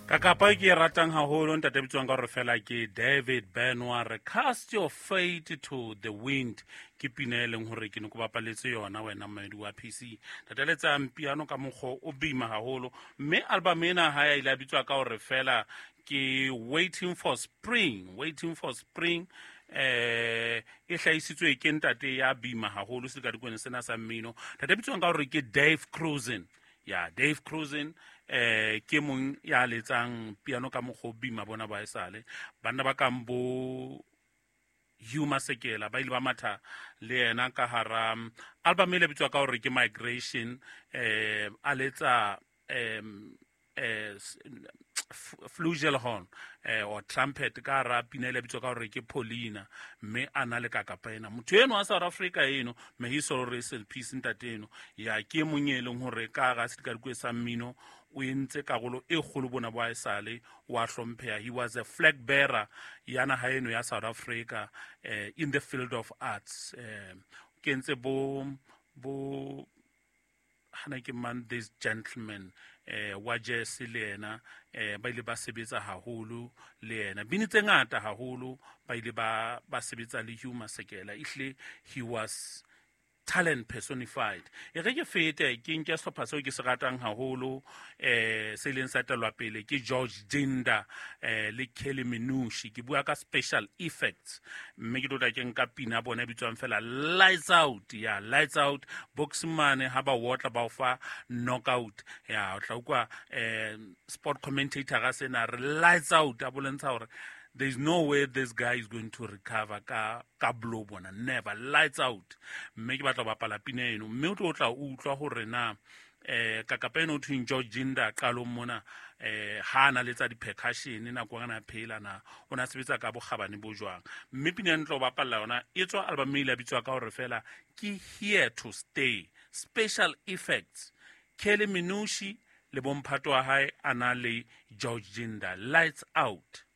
Kakapa e ke e ratang haholo, ntate bitswang ka gore fela ke David Benoit, re "Cast Your Fate to the Wind", ke pina e leng gore ke ne ko bapaletse yona wena mmedi wa PC. Tate letsang piano ka mokgwa o bima haholo, mme album ena ha ya ile a bitswa ka gore fela ke Waiting for Spring. Waiting for Spring e hlahisitswe ke ntate ya bima haholo sedikadikwane sena sa mmino, ntate bitswang ka gore ke Dave Krusen. Ya, Dave Krusen ke mong ya letsang piano ka mokgwa o bima bona ba esale banna ba kang bo Hugh Masekela ba ile ba matha le yena ka hara album e le bitswa ka gore ke Migration, a letsa flugelhorn or trumpet ka hara pina ile bitswa ka gore ke Paulina, mme a na le kakapa ena motho eno wa South Africa eno. May his soul rest in peace. Ntate eno ya ke mong e leng gore ka ga sedikadikwe sa mmino o entse karolo e kgolo bona bo esale wa hlompheha. He was a flag bearer ya naha eno ya South Africa in the field of arts. Ke entse bo hana ke man, this gentleman wa jazz le yena ba ile ba sebetsa haholo le yena, bini tse ngata haholo ba ile ba sebetsa le Hugh Masekela. Ehlile he was talent personified. E re ke fete ke nke sehlopha seo ke se ratang haholo, se ileng sa telwa pele ke George Jinda le Kelly Minushi. Ke bua ka Special Effects, mme ke tlo tla ke nka pina bona e bitswang fela Lights Out. Ya, Lights Out. Boxmane ha ba wotla ba o fa knockout, ya o tla utlwa sport commentator ga sena re "Lights Out", a bolentsha hore there is no way this guy is going to recover ka blow bona, never. Lights Out. Mme ke batla ho bapala pina eno, mme o tlo tla utlwa hore na kakapa eno thweng George Jinda qalong mona ha na letsa di-percussion nako ana phela na o na sebetsa ka bokgabane bo jwang. Mme pina e ntlo bapalla yona e tswa album e ile a bitswa ka hore fela ke Here to Stay. Special Effects, Kelly Minushi le bomphato wa hae a na le George Jinda, Lights Out.